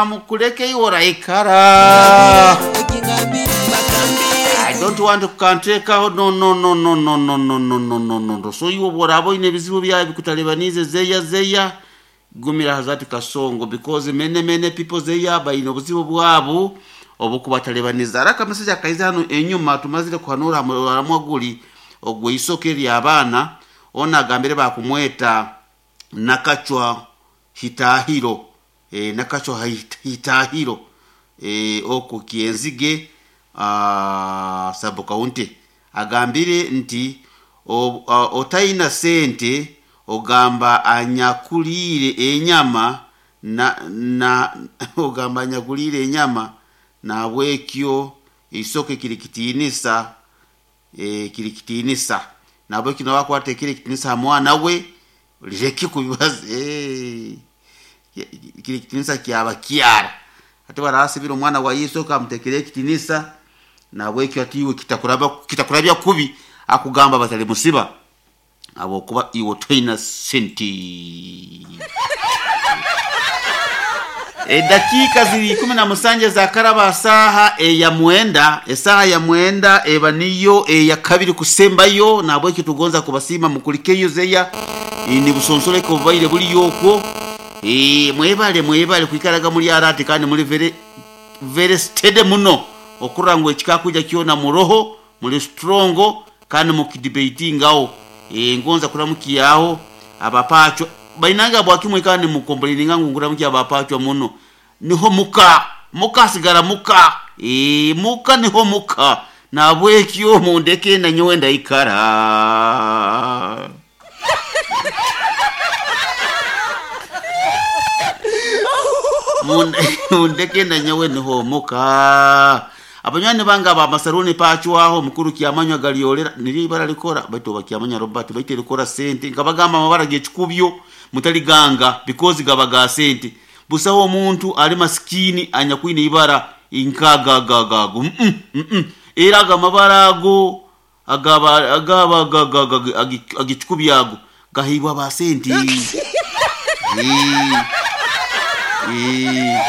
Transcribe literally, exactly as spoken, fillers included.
Kamukuleke iwe oraikara. I don't want to kantekaho, no no no no no no no no no no no no. So iwe bworaba oine ebizibu byawe bikutalibanize zeya zeya, gumira hazati kasongo, because many many people zeya baine obuzibu bwabo obukubatalibaniza. Araka amasajja akaiza hano enyuma tumazire kuhanura haramwaguli ogwe isoke ly'abaana ona agambire bakumweta Nakachwa Hitahiro, e, Nakachwa Hitahiro, e, oko Kienzige uh, sub county agambire nti o, uh, otaina sente ogamba anyakulire enyama na, na ogamba anyakulire enyama nabwekyo isoke kiri kitinisa, e, kiri kitinisa nabwekyo nawakwata kiri kitinisa mwana we lireke kubibaza, e, kiri kitinisa kyaba kyara ate barasibira omwana wa Yesu kamutekere ekitinisa nabwekyo ati iwe kitakuraba kitakurabya kubi akugamba batali musiba abo kuba iwe toina senti. E, dakika ziri kumi na musanje za karaba saha eya mwenda, esaha ya mwenda eba niyo eya kabiri kusembayo nabwekyo tugonza kubasima mukulikeyo zeya e, ni busonsoleko bubaire buli yokwo. E, mwebale mwebale kwikaraga muri arati kandi muri very very steady muno okurangwa ekikakuja kyona muroho muri strongo kandi mukidebatingaho. E, ngonza kuramukiyaho abapachwa bainanga bwakimwe kandi mukombolinga ngu nguramukiya abapachwa muno niho muka muka sigara muka, e, muka niho muka nabwekyo mundeke na nyowe ndaikara. Mundeke na nyowe niho muka. Abanywani banga ba masaruni pachwaho mukuru kyamanywa galiolera niri ibara likora baitu bakyamanya Robert baitu likora sente nkabagamba amabara g'ekikubyo mutaliganga because gabaga sente busaho omuntu ali maskini anyakwine ibara inkagagagago mm -mm, mm -mm. Era agamabara ago agaba agaba agikubyago gahibwa ba sente. Eh. Eh.